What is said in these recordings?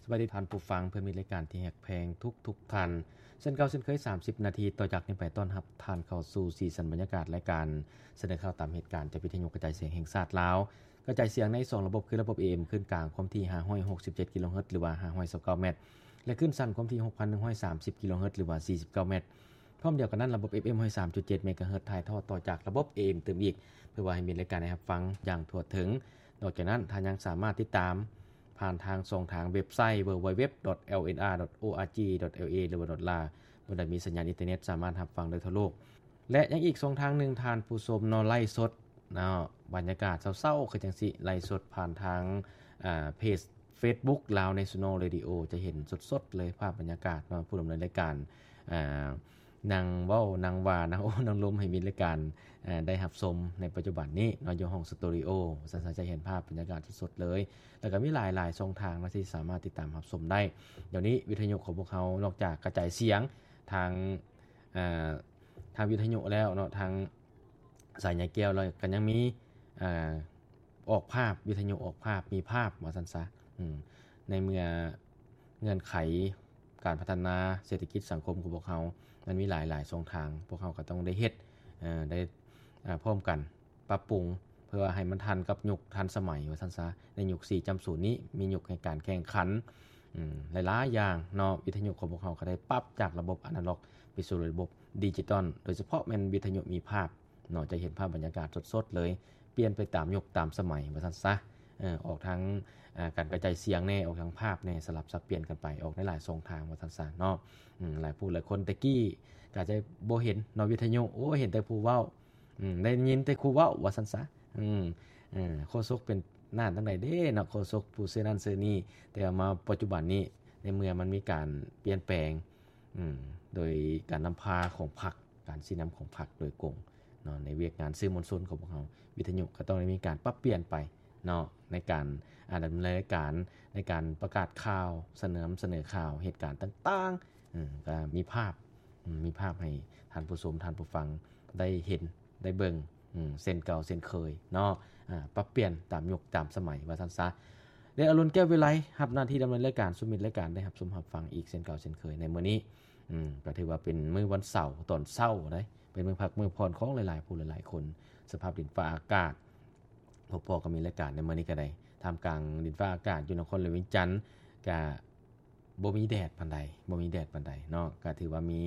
ສະບາຍດີທ່ານຜູ້ຟັງ ເພື່ອນມິດລາຍການທີ່ຮັກແພງທຸກໆທ່ານ. ເຊັ່ນເກົ່າເຊັ່ນເຄີຍ ສາມສິບນາທີຕໍ່ຈາກນີ້ໄປ ຕ້ອນຮັບທ່ານເຂົ້າສູ່ສີສັນບັນຍາກາດລາຍການສະເໜີຂ່າວຕາມເຫດການ ຈາກວິທະຍຸກະຈາຍສຽງແຫ່ງຊາດລາວ, ກະຈາຍສຽງໃນສອງລະບົບ ຄືລະບົບ ເອເອັມ ຄື້ນກາງຄວາມຖີ່ຫ້າຮ້ອຍຫົກສິບເຈັດກິໂລເຮີດ ຫຼືວ່າຫ້າຮ້ອຍຊາວເກົ້າແມັດ ແລະ ຄື້ນສັ້ນຄວາມຖີ່ຫົກພັນໜຶ່ງຮ້ອຍສາມສິບກິໂລເຮີດ ຫຼືວ່າສີ່ສິບເກົ້າແມັດ. ພ້ອມດຽວກັນນັ້ນ ລະບົບ ເອຟເອັມ ຮ້ອຍສາມຈຸດເຈັດເມກາເຮີດ ຖ່າຍທອດຕໍ່ຈາກລະບົບ ເອເອັມ ຕື່ມອີກ ເພື່ອວ່າໃຫ້ມິດລາຍການໄດ້ຮັບຟັງຢ່າງທົ່ວເຖິງ. ນອກຈາກນັ້ນ ທ່ານຍັງສາມາດຕິດຕາມຜ່ານທາງຊ່ອງທາງເວັບໄຊ www.lnr.org.la ຫຼືວ່າ .la ບ່ອນໃດມີສັນຍານອິນເຕີເນັດ ສາມາດຮັບຟັງໄດ້ທົ່ວໂລກ. ແລະ ຍັງອີກຊ່ອງທາງໜຶ່ງ ທ່ານຜູ້ຊົມເນາະ ໄລຟ໌ສົດເນາະ ບັນຍາກາດເຊົ້າໆ ຄືຈັ່ງຊີ້ ໄລຟ໌ສົດຜ່ານທາງ ອ່າ ເພຈ Facebook Lao National Radio ຈະເຫັນສົດໆເລີຍພາບບັນຍາກາດເນາະ ຜູ້ດຳເນີນລາຍການ ອ່າ ນັ່ງເວົ້າ ນັ່ງວ່າ ນັ່ງໂອ້ ນັ່ງລົມໃຫ້ມິດລາຍການ ເອີ ໄດ້ຮັບຊົມໃນປັດຈຸບັນນີ້ເນາະ ຢູ່ຫ້ອງສະຕູດິໂອ ວ່າຊັ້ນຊະ ຈະເຫັນພາບບັນຍາກາດສົດໆເລີຍ. ແລ້ວກໍມີຫຼາຍໆຊ່ອງທາງເນາະ ທີ່ສາມາດຕິດຕາມຮັບຊົມໄດ້. ດຽວນີ້ວິທະຍຸຂອງພວກເຮົາ ນອກຈາກກະຈາຍສຽງທາງ ເອີ ທາງວິທະຍຸແລ້ວເນາະ ທາງສາຍໃຍແກ້ວ ແລ້ວກໍຍັງມີ ເອີ ອອກພາບ ວິທະຍຸອອກພາບ ມີພາບ ວ່າຊັ້ນຊະ. ອືມ ໃນເມື່ອເງື່ອນໄຂການພັດທະນາເສດຖະກິດສັງຄົມຂອງພວກເຮົາ ມັນມີຫຼາຍໆຊ່ອງທາງ ພວກເຮົາກໍຕ້ອງໄດ້ເຮັດ ເອີ ໄດ້ ເອີ ພ້ອມກັນປັບປຸງ ເພື່ອວ່າໃຫ້ມັນທັນກັບຍຸກທັນສະໄໝ ວ່າຊັ້ນຊະ. ໃນຍຸກສີ່ຈຸດສູນນີ້ ມີຍຸກແຫ່ງການແຂ່ງຂັນ ອືມ ຫຼາຍໆຢ່າງເນາະ. ວິທະຍຸຂອງພວກເຮົາກໍໄດ້ປັບຈາກລະບົບອານາລັອກໄປສູ່ລະບົບດິຈິຕອນ ໂດຍສະເພາະແມ່ນວິທະຍຸມີພາບ ເນາະ ຈະເຫັນພາບບັນຍາກາດສົດໆເລີຍ ປ່ຽນໄປຕາມຍຸກຕາມສະໄໝ ວ່າຊັ້ນຊະ. ເອີ ອອກທາງ ເອີ ການກະຈາຍສຽງແດ່ ອອກທາງພາບແດ່ ສະຫຼັບສັບປ່ຽນກັນໄປ ອອກໃນຫຼາຍຊ່ອງທາງ ວ່າຊັ້ນຊະເນາະ. ອືມ ຫຼາຍຜູ້ຫຼາຍຄົນແຕ່ກີ້ກະຈະບໍ່ເຫັນເນາະ ວິທະຍຸ ໂອ້ ເຫັນແຕ່ຜູ້ເວົ້າ ອືມ ໄດ້ຍິນແຕ່ຜູ້ເວົ້າ ວ່າຊັ້ນຊະ. ອືມ ເອີ ໂຄສົກເປັນນັ້ນຈັ່ງໃດເດ້ເນາະ ໂຄສົກຜູ້ຊື່ນັ້ນຊື່ນີ້ ແຕ່ວ່າມາປັດຈຸບັນນີ້ ໃນເມື່ອມັນມີການປ່ຽນແປງ ອືມ ໂດຍການນຳພາຂອງພັກ ການຊີ້ນຳຂອງພັກໂດຍກົງເນາະ ໃນວຽກງານສື່ມວນຊົນຂອງພວກເຮົາ ວິທະຍຸກໍຕ້ອງໄດ້ມີການປັບປ່ຽນໄປເນາະ ໃນການ ອາ ດຳເນີນລາຍການ ໃນການປະກາດຂ່າວ ສະເໜີ ສະເໜີຂ່າວ ເຫດການຕ່າງໆ ເອີ ກໍມີພາບ ອືມ ມີພາບໃຫ້ທ່ານຜູ້ຊົມ ທ່ານຜູ້ຟັງໄດ້ເຫັນ ໄດ້ເບິ່ງ ອືມ ເຊັ່ນເກົ່າເຊັ່ນເຄີຍເນາະ ອາ ປັບປ່ຽນຕາມຍຸກຕາມສະໄໝ ວ່າຊັ້ນຊະ. ແລະ ອາລຸນ ແກ້ວວິໄລ ຮັບໜ້າທີ່ດຳເນີນລາຍການສູ່ມິດລາຍການໄດ້ຮັບຊົມຮັບຟັງອີກເຊັ່ນເກົ່າເຊັ່ນເຄີຍໃນມື້ນີ້. ອືມ ກໍຖືວ່າເປັນມື້ວັນເສົາຕອນເຊົ້າເດ້ ເປັນມື້ພັກມື້ຜ່ອນຂອງຫຼາຍໆຜູ້ຫຼາຍໆຄົນ. ສະພາບດິນຟ້າອາກາດ ພົບພໍ້ກັບມິດລາຍການໃນມື້ນີ້ກໍໄດ້ ທ່າມກາງດິນຟ້າອາກາດຢູ່ນະຄອນຫຼວງວຽງຈັນ ກະບໍ່ມີແດດປານໃດ ບໍ່ມີແດດປານໃດເນາະ ກະຖືວ່າມີ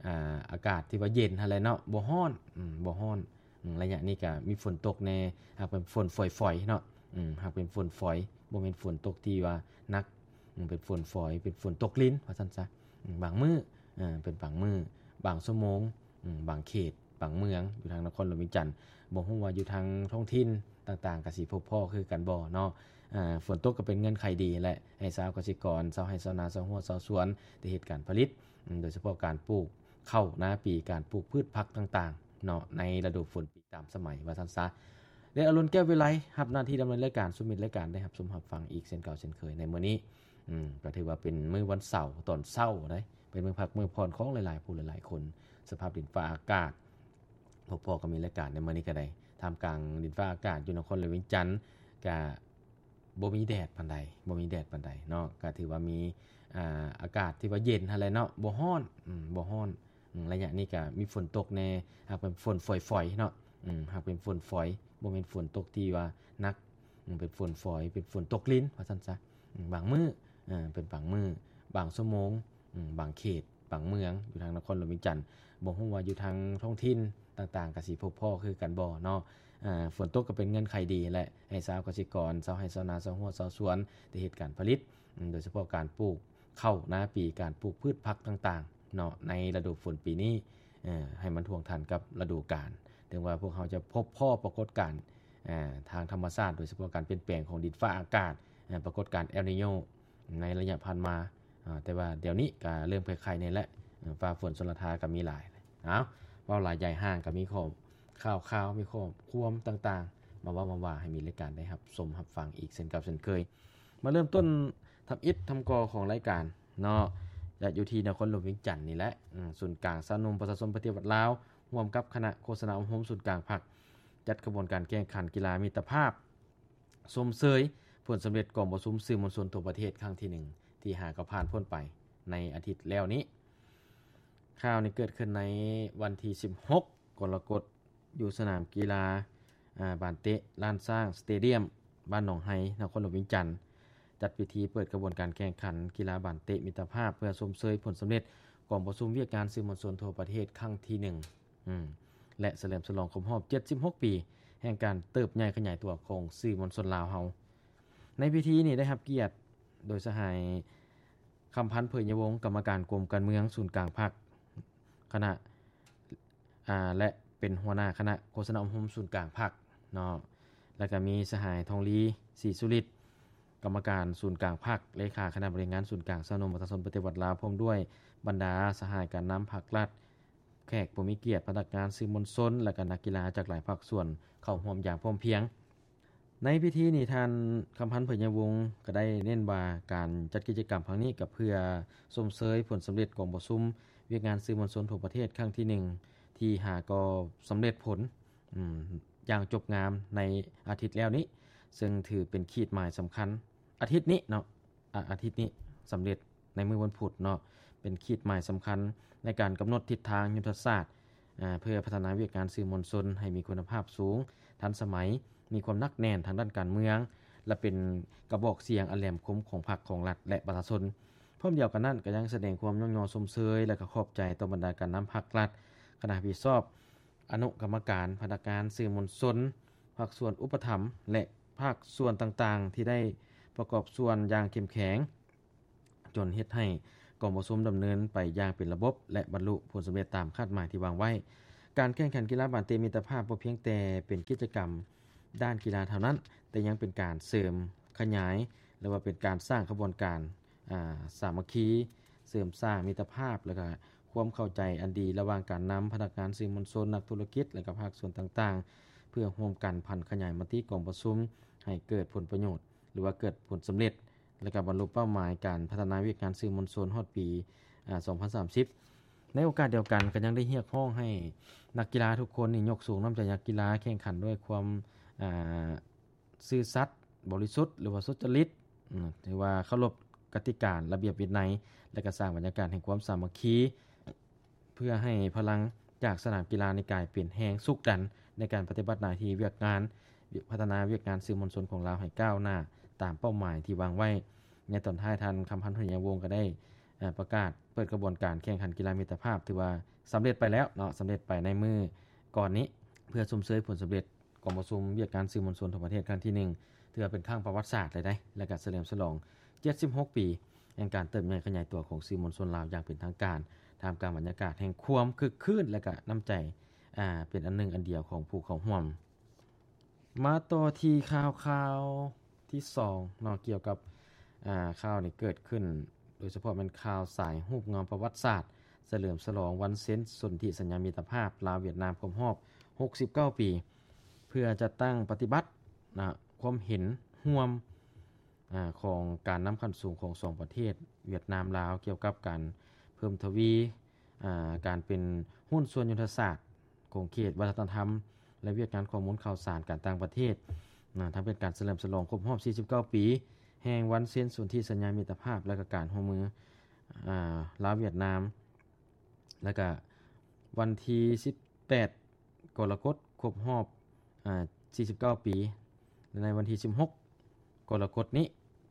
ອາ ອາກາດທີ່ວ່າເຢັນຫັ້ນແຫຼະເນາະ ບໍ່ຮ້ອນ ອືມ ບໍ່ຮ້ອນ. ອືມ ໄລຍະນີ້ກະມີຝົນຕົກແດ່ ຫາກເປັນຝົນຝອຍໆເນາະ ອືມ ຫາກເປັນຝົນຝອຍ ບໍ່ແມ່ນຝົນຕົກທີ່ວ່າໜັກ ອືມ ເປັນຝົນຝອຍ ເປັນຝົນຕົກລິນ ວ່າຊັ້ນຊະ. ອືມ ບາງມື້ ເອີ ເປັນບາງມື້ ບາງຊົ່ວໂມງ ອືມ ບາງເຂດ ບາງເມືອງ ຢູ່ທາງນະຄອນຫຼວງວຽງຈັນ ບໍ່ຮູ້ວ່າຢູ່ທາງທ້ອງຖິ່ນຕ່າງໆ ກະຊິພົບພໍ້ຄືກັນບໍ່ເນາະ. ອາ ຝົນຕົກກໍເປັນເງື່ອນໄຂດີແຫຼະ ໃຫ້ຊາວກະສິກອນ ຊາວໄຮ່ຊາວນາ ຊາວຮົ້ວຊາວສວນ ໄດ້ເຮັດການຜະລິດ ໂດຍສະເພາະການປູກເຂົ້ານາປີ ການປູກພືດຜັກຕ່າງໆເນາະ ໃນລະດູຝົນປີຕາມສະໄໝ ວ່າຊັ້ນຊະ. ແລະ ອາລຸນ ແກ້ວວິໄລ ຮັບໜ້າທີ່ດຳເນີນລາຍການສູ່ມິດລາຍການໄດ້ຮັບຊົມຮັບຟັງອີກເຊັ່ນເກົ່າເຊັ່ນເຄີຍໃນມື້ນີ້. ອືມ ກໍຖືວ່າເປັນມື້ວັນເສົາຕອນເຊົ້າເດ້ ເປັນມື້ພັກມື້ຜ່ອນຂອງຫຼາຍໆຜູ້ຫຼາຍໆຄົນ. ສະພາບດິນຟ້າອາກາດ ພົບພໍ້ກັບມິດລາຍການໃນມື້ນີ້ກໍໄດ້ ທ່າມກາງດິນຟ້າອາກາດຢູ່ນະຄອນຫຼວງວຽງຈັນ ກະບໍ່ມີແດດປານໃດ ບໍ່ມີແດດປານໃດເນາະ ກະຖືວ່າມີ ອາ ອາກາດທີ່ວ່າເຢັນຫັ້ນແຫຼະເນາະ ບໍ່ຮ້ອນ ອືມ ບໍ່ຮ້ອນ. ອືມ ໄລຍະນີ້ກະມີຝົນຕົກແດ່ ຫາກເປັນຝົນຝອຍໆເນາະ ອືມ ຫາກເປັນຝົນຝອຍ ບໍ່ແມ່ນຝົນຕົກທີ່ວ່າໜັກ ອືມ ເປັນຝົນຝອຍ ເປັນຝົນຕົກລິນ ວ່າຊັ້ນຊະ. ອືມ ບາງມື້ ເອີ ເປັນບາງມື້ ບາງຊົ່ວໂມງ ອືມ ບາງເຂດ ບາງເມືອງ ຢູ່ທາງນະຄອນຫຼວງວຽງຈັນ ບໍ່ຮູ້ວ່າຢູ່ທາງທ້ອງຖິ່ນຕ່າງໆ ກະຊິພົບພໍ້ຄືກັນບໍ່ເນາະ. ອາ ຝົນຕົກກໍເປັນເງື່ອນໄຂດີແຫຼະ ໃຫ້ຊາວກະສິກອນ ຊາວໄຮ່ຊາວນາ ຊາວຮົ້ວຊາວສວນ ໄດ້ເຮັດການຜະລິດ ໂດຍສະເພາະການປູກເຂົ້ານາປີ ການປູກພືດຜັກຕ່າງໆເນາະ ໃນລະດູຝົນປີນີ້ ເອີ ໃຫ້ມັນທ່ວງທັນກັບລະດູການ. ເຖິງວ່າພວກເຮົາຈະພົບພໍ້ປາກົດການ ເອີ ທາງທຳມະຊາດ ໂດຍສະເພາະການປ່ຽນແປງຂອງດິນຟ້າອາກາດ ເອີ ປາກົດການ El Niño ໃນໄລຍະຜ່ານມາ ອາ ແຕ່ວ່າດຽວນີ້ກະເລີ່ມໄຄໆແດ່ແຫຼະ ເອີ ຟ້າຝົນຊົນລະທາກະມີຫຼາຍ. ເອົາ ເວົ້າຫຼາຍໃຫຍ່ຫ່າງ ກະມີຂໍ້ຂ່າວໆ ມີຂໍ້ຄວາມຕ່າງໆ ມາເວົ້າມາວ່າໃຫ້ມິດລາຍການໄດ້ຮັບຊົມຮັບຟັງອີກເຊັ່ນເກົ່າເຊັ່ນເຄີຍ. ມາເລີ່ມຕົ້ນທຳອິດທຳກໍຂອງລາຍການເນາະ ຈະຢູ່ທີ່ນະຄອນຫຼວງວຽງຈັນນີ້ແຫຼະ. ອືມ ສູນກາງຊາວໜຸ່ມປະຊາຊົນປະຕິວັດລາວ ຮ່ວມກັບຄະນະໂຄສະນາອົບຮົມສູນກາງພັກ ຈັດຂະບວນການແຂ່ງຂັນກິລາມິດຕະພາບ ຊົມເຊີຍຜົນສຳເລັດກອງປະຊຸມສື່ມວນຊົນທົ່ວປະເທດຄັ້ງທີໜຶ່ງ ທີ ທີ່ຫາກໍຜ່ານພົ້ນໄປໃນອາທິດແລ້ວນີ້. ຂ່າວນີ້ເກີດຂຶ້ນໃນວັນທີສິບຫົກ ກໍລະກົດ ຢູ່ສະໜາມກິລາ ອາ ບານເຕະລ້ານຊ້າງສະເຕດຽມ ບ້ານໜອງໄຮ ນະຄອນຫຼວງວຽງຈັນ ຈັດພິທີເປີດຂະບວນການແຂ່ງຂັນກິລາບານເຕະມິດຕະພາບ ເພື່ອຊົມເຊີຍຜົນສຳເລັດກອງປະຊຸມວຽກງານສື່ມວນຊົນທົ່ວປະເທດຄັ້ງທີໜຶ່ງ ອືມ ແລະ ສະເຫຼີມສະຫຼອງຄົບຮອບເຈັດສິບຫົກປີ ແຫ່ງການເຕີບໃຫຍ່ຂະຫຍາຍຕົວຂອງສື່ມວນຊົນລາວເຮົາ. ໃນພິທີນີ້ໄດ້ຮັບກຽດໂດຍສະຫາຍ ຄຳພັນ ເຜີຍຍະວົງ ກຳມະການກົມການເມືອງສູນກາງພັກ ຄະນະ ອາ ແລະ ເປັນຫົວໜ້າຄະນະໂຄສະນາອົບຮົມສູນກາງພັກເນາະ ແລ້ວກະມີສະຫາຍ ທອງລີ ສີສຸລິດ ກຳມະການສູນກາງພັກ ເລຂາຄະນະບໍລິຫານງານສູນກາງຊາວໜຸ່ມປະຊາຊົນປະຕິວັດລາວ ພ້ອມດ້ວຍບັນດາສະຫາຍການນຳພັກລັດ ແຂກຜູ້ມີກຽດ, ພະນັກງານສື່ມວນຊົນ ແລະ ກະນັກກິລາຈາກຫຼາຍພາກສ່ວນເຂົ້າຮ່ວມຢ່າງພ້ອມພຽງ. ໃນພິທີນີ້ ທ່ານ ຄຳພັນ ເຜີຍຍະວົງ ກໍໄດ້ເນັ້ນວ່າການຈັດກິດຈະກຳຄັ້ງນີ້ກໍເພື່ອຊົມເຊີຍຜົນສຳເລັດກອງປະຊຸມວຽກງານສື່ມວນຊົນທົ່ວປະເທດຄັ້ງທີໜຶ່ງ ທີ່ຫາກໍສຳເລັດຜົນ ອືມ ຢ່າງຈົບງາມໃນອາທິດແລ້ວນີ້ ເຊິ່ງຖືເປັນຂີດໝາຍສຳຄັນ ອາທິດນີ້ເນາະ ອາ ອາທິດນີ້ສຳເລັດໃນມື້ວັນພຸດເນາະ ເປັນຂີດໝາຍສຳຄັນໃນການກຳນົດທິດທາງຍຸດທະສາດ ອາ ເພື່ອພັດທະນາວຽກງານສື່ມວນຊົນໃຫ້ມີຄຸນນະພາບສູງ, ທັນສະໄໝ, ມີຄວາມໜັກແໜ້ນທາງດ້ານການເມືອງ ແລະ ເປັນກະບອກສຽງອັນແຫຼມຄົມຂອງພັກ, ຂອງລັດ ແລະ ປະຊາຊົນ. ພ້ອມດຽວກັນນັ້ນ ກໍຍັງສະແດງຄວາມຍ້ອງຍໍຊົມເຊີຍ ແລະ ກໍຂອບໃຈຕໍ່ບັນດາການນຳພັກລັດ, ຄະນະຮັບຜິດຊອບ, ອະນຸກຳມະການ, ພະນັກງານສື່ມວນຊົນ, ພາກສ່ວນອຸປະຖຳ ແລະ ພາກສ່ວນຕ່າງໆ ທີ່ໄດ້ປະກອບສ່ວນຢ່າງເຂັ້ມແຂງ ຈົນເຮັດໃຫ້ກອງປະຊຸມດຳເນີນໄປຢ່າງເປັນລະບົບ ແລະ ບັນລຸຜົນສຳເລັດຕາມຄາດໝາຍທີ່ວາງໄວ້. ການແຂ່ງຂັນກິລາບານເຕະມິດຕະພາບບໍ່ພຽງແຕ່ເປັນກິດຈະກຳດ້ານກິລາເທົ່ານັ້ນ, ແຕ່ຍັງເປັນການເສີມຂະຫຍາຍ ຫຼືວ່າເປັນການສ້າງຂະບວນການ ອາ ສາມັກຄີ, ເສີມສ້າງມິດຕະພາບ ແລະ ກະຄວາມເຂົ້າໃຈອັນດີລະຫວ່າງການນຳ, ພະນັກງານສື່ມວນຊົນ, ນັກທຸລະກິດ ແລະ ກະພາກສ່ວນຕ່າງໆ ເພື່ອຮ່ວມກັນຜັນຂະຫຍາຍມະຕິກອງປະຊຸມໃຫ້ເກີດຜົນປະໂຫຍດ ຫຼືວ່າເກີດຜົນສຳເລັດ ແລະ ກະບັນລຸເປົ້າໝາຍການພັດທະນາວຽກງານສື່ມວນຊົນຮອດປີ ອາ ສອງພັນສາມສິບ. ໃນໂອກາດດຽວກັນ ກໍຍັງໄດ້ຮຽກຮ້ອງໃຫ້ນັກກິລາທຸກຄົນນີ້ຍົກສູງນ້ຳໃຈນັກກິລາ, ແຂ່ງຂັນດ້ວຍຄວາມ ອາ ຊື່ສັດ, ບໍລິສຸດ ຫຼືວ່າສຸດຈະລິດ, ອາ ຖືວ່າເຄົາລົບກະຕິກາລະບຽບວິໄນ ແລະ ກະສ້າງບັນຍາກາດແຫ່ງຄວາມສາມັກຄີ ເພື່ອໃຫ້ພະລັງຈາກສະໜາມກິລານີ້ກາຍເປັນແຮງຊຸກດັນໃນການປະຕິບັດໜ້າທີ່ວຽກງານ ພັດທະນາວຽກງານສື່ມວນຊົນຂອງລາວໃຫ້ກ້າວໜ້າຕາມເປົ້າໝາຍທີ່ວາງໄວ້. ໃນຕອນທ້າຍ ທ່ານ ຄຳພັນ ເຜີຍຍະວົງ ກໍໄດ້ ເອີ ປະກາດເປີດຂະບວນການແຂ່ງຂັນກິລາມິດຕະພາບ ຖືວ່າສຳເລັດໄປແລ້ວເນາະ, ສຳເລັດໄປໃນມື້ກ່ອນນີ້ ເພື່ອຊົມເຊີຍຜົນສຳເລັດ ກອງປະຊຸມວຽກງານສື່ມວນຊົນທົ່ວປະເທດຄັ້ງທີໜຶ່ງ ຖືວ່າເປັນຄັ້ງປະຫວັດສາດເລີຍເດ້ ແລະ ກະສະເຫຼີມສະຫຼອງເຈັດສິບຫົກປີ ແຫ່ງການເຕີບໃຫຍ່ຂະຫຍາຍຕົວຂອງສື່ມວນຊົນລາວຢ່າງເປັນທາງການ ທ່າມກາງບັນຍາກາດແຫ່ງຄວາມຄຶກຄື້ນ ແລະ ກະນ້ຳໃຈ ອາ ເປັນອັນໜຶ່ງອັນດຽວຂອງຜູ້ເຂົ້າຮ່ວມ. ມາຕໍ່ທີ່ຂ່າວ ຂ່າວທີສອງເນາະ ກ່ຽວກັບ ອາ ຂ່າວນີ້ເກີດຂຶ້ນ ໂດຍສະເພາະແມ່ນຂ່າວສາຍຮູບເງົາປະຫວັດສາດ ສະເຫຼີມສະຫຼອງວັນເຊັນສົນທິສັນຍາມິດຕະພາບລາວຫວຽດນາມຄົບຮອບຫົກສິບເກົ້າປີ ເພື່ອຈັດຕັ້ງປະຕິບັດນະ ຄວາມເຫັນຮ່ວມ ອາ ຂອງການນຳຂັ້ນສູງຂອງສອງປະເທດຫວຽດນາມ-ລາວ ກ່ຽວກັບການເພີ່ມທະວີ ອາ ການເປັນຫຸ້ນສ່ວນຍຸດທະສາດ ຂົງເຂດວັດທະນະທຳ ແລະ ວຽກງານຂໍ້ມູນຂ່າວສານການຕ່າງປະເທດ ນະ ທັງເປັນການສະເຫຼີມສະຫຼອງຄົບຮອບສີ່ສິບເກົ້າປີ ແຫ່ງວັນເຊັນສົນທິສັນຍາມິດຕະພາບ ແລະ ກະການຮ່ວມມື ອາ ລາວຫວຽດນາມ ແລະ ກະວັນທີສິບແປດ ກໍລະກົດ ຄົບຮອບ ອາ ສີ່ສິບເກົ້າປີ ແລະ ໃນວັນທີສິບຫົກ ກໍລະກົດນີ້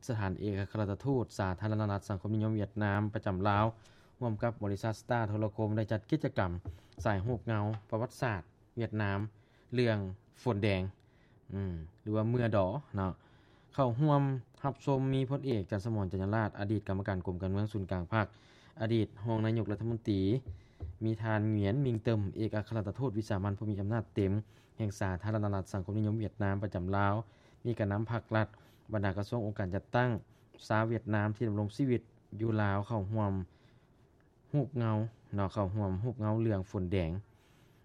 ສະຖານເອກອັກຄະລັດຖະທູດສາທາລະນະລັດສັງຄົມນິຍົມຫວຽດນາມປະຈຳລາວ ຮ່ວມກັບບໍລິສັດສະຕາໂທລະຄົມ ໄດ້ຈັດກິດຈະກຳສາຍຮູບເງົາປະຫວັດສາດຫວຽດນາມ ເລື່ອງຝົນແດງ ອືມ ຫຼືວ່າເມື່ອດໍເນາະ ເຂົ້າຮ່ວມຮັບຊົມມີພົນເອກ ຈັນສະໝອນ ຈັນຍາລາດ ອະດີດກຳມະການກົມການເມືອງສູນກາງພັກ, ອະດີດຮອງນາຍົກລັດຖະມົນຕີ, ມີທ່ານ ຫງວຽນ ມິງເຕີມ ເອກອັກຄະລັດຖະທູດວິສາມັນຜູ້ມີອຳນາດເຕັມແຫ່ງສາທາລະນະລັດສັງຄົມນິຍົມຫວຽດນາມປະຈຳລາວ, ມີການນຳພັກລັດ, ບັນດາກະຊວງອົງການຈັດຕັ້ງ, ຊາວຫວຽດນາມທີ່ດຳລົງຊີວິດຢູ່ລາວເຂົ້າຮ່ວມ ຮູບເງົາເນາະ ເຂົ້າຮ່ວມຮູບເງົາເລື່ອງຝົນແດງ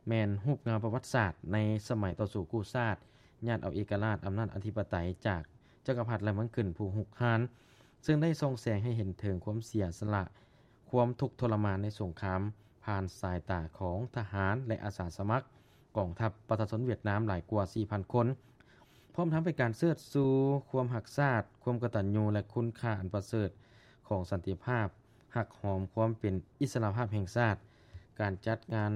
ແມ່ນຮູບເງົາປະຫວັດສາດໃນສະໄໝຕໍ່ສູ້ກູ້ຊາດ ຍາດເອົາເອກະລາດອຳນາດອະທິປະໄຕຈາກຈັກກະພັດລາວມັງກຶນຜູ້ຮຸກຮານ ເຊິ່ງໄດ້ສ່ອງແສງໃຫ້ເຫັນເຖິງຄວາມເສຍສະຫຼະ ຄວາມທຸກທໍລະມານໃນສົງຄາມ ຜ່ານສາຍຕາຂອງທະຫານ ແລະ ອາສາສະໝັກ ກອງທັບປະຊາຊົນຫວຽດນາມຫຼາຍກວ່າສີ່ພັນຄົນ, ພ້ອມທັງເປັນການເຊີດຊູຄວາມຮັກຊາດ, ຄວາມກະຕັນຍູ ແລະ ຄຸນຄ່າອັນປະເສີດຂ ຂອງສັນຕິພາບ, ຮັກຫອມຄວາມເປັນອິດສະຫຼະພາບແຫ່ງຊາດ. ການຈັດງານ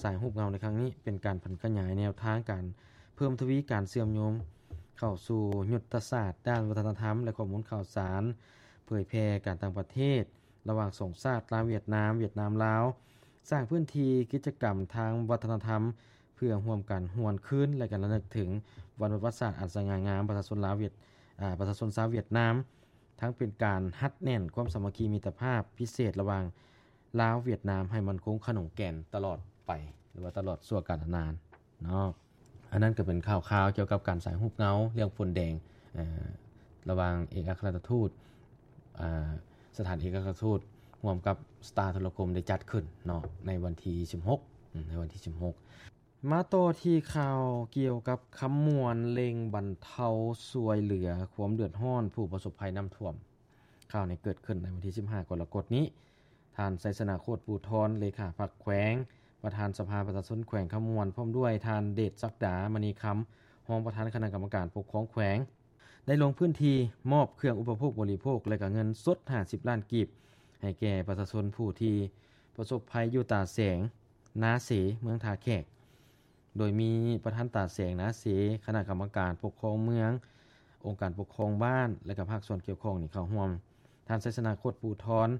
ສາຍຮູບເງົາໃນຄັ້ງນີ້ ເປັນການຜັນຂະຫຍາຍແນວທາງການເພີ່ມທະວີການເຊື່ອມໂຍງເຂົ້າສູ່ຍຸດທະສາດດ້ານວັດທະນະທຳ ແລະ ຂໍ້ມູນຂ່າວສານ, ເຜີຍແຜ່ການຕ່າງປະເທດ ລະຫວ່າງສອງຊາດ ລາວ-ຫວຽດນາມ, ຫວຽດນາມ-ລາວ, ສ້າງພື້ນທີ່ກິດຈະກຳທາງວັດທະນະທຳ ເພື່ອຮ່ວມກັນຫວນຄືນ ແລະ ການລະນຶກເຖິງວັນປະຫວັດສາດອັນສະຫງ່າງາມ ປະຊາຊົນລາວຫວຽດ ອາ ປະຊາຊົນຊາວຫວຽດນາມ, ທັງເປັນການຮັດແໜ້ນຄວາມສາມັກຄີມິດຕະພາບພິເສດລະຫວ່າງລາວຫວຽດນາມ ໃຫ້ໝັ້ນຄົງຂະໜົງແກ່ນຕະຫຼອດໄປ ຫຼືວ່າຕະຫຼອດຊົ່ວການນານເນາະ. ອັນນັ້ນກໍເປັນຂ່າວຄາວກ່ຽວກັບການສາຍຮູບເງົາເລື່ອງໂພນແດງ ເອີ ລະຫວ່າງເອກອັກຄະລັດຖະທູດ ອາ ສະຖານເອກອັກຄະລັດຖະທູດ ຮ່ວມກັບສະຕາໂທລະຄົມ ໄດ້ຈັດຂຶ້ນເນາະ ໃນວັນທີສິບຫົກ ອາ ໃນວັນທີສິບຫົກ. ມາຕໍ່ທີ່ຂ່າວກ່ຽວກັບຄຳມ່ວນ ເລັ່ງບັນເທົາຊ່ວຍເຫຼືອຄວາມເດືອດຮ້ອນຜູ້ປະສົບໄພນ້ຳຖ້ວມ. ຂ່າວນີ້ເກີດຂຶ້ນໃນວັນທີສິບຫ້າ ກໍລະກົດນີ້. ທ່ານ ໄຊຊະນະ ໂຄດພູທອນ ເລຂາພັກແຂວງ, ປະທານສະພາປະຊາຊົນແຂວງຄຳມ່ວນ, ພ້ອມດ້ວຍທ່ານ ເດດສັກດາ ມະນີຄຳ ຮອງປະທານຄະນະກຳມະການປົກຄອງແຂວງ ໄດ້ລົງພື້ນທີ່ມອບເຄື່ອງອຸປະໂພກບໍລິໂພກ ແລະ ກະເງິນສົດຫ້າສິບລ້ານກີບ ໃຫ້ແກ່ປະຊາຊົນຜູ້ທີ່ປະສົບໄພຢູ່ຕາແສງ ນາເສ ເມືອງທ່າແຂກ, ໂດຍມີປະທານຕາແສງ ນາເສ, ຄະນະກຳມະການປົກຄອງເມືອງ, ອົງການປົກຄອງບ້ານ ແລະ ກະພາກສ່ວນກ່ຽວຂ້ອງນີ້ເຂົ້າຮ່ວມ. ທ່ານ ໄຊຊະນະ ໂຄດພູທອນ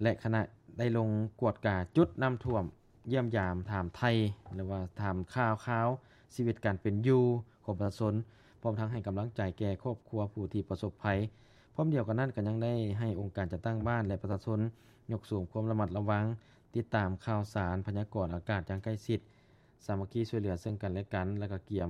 ແລະ ຄະນະໄດ້ລົງກວດກາຈຸດນ້ຳຖ້ວມ, ຢ້ຽມຢາມຖາມໄຖ່ ຫຼືວ່າຖາມຂ່າວຄາວຊີວິດການເປັນຢູ່ຂອງປະຊາຊົນ, ພ້ອມທັງໃຫ້ກຳລັງໃຈແກ່ຄອບຄົວຜູ້ທີ່ປະສົບໄພ. ພ້ອມດຽວກັນນັ້ນ ກໍຍັງໄດ້ໃຫ້ອົງການຈັດຕັ້ງບ້ານ ແລະ ປະຊາຊົນຍົກສູງຄວາມລະມັດລະວັງ, ຕິດຕາມຂ່າວສານ, ພະຍາກອນອາກາດຢ່າງໃກ້ຊິດ, ສາມັກຄີຊ່ວຍເຫຼືອເຊິ່ງກັນແລະກັນ ແລະ ກໍກຽມ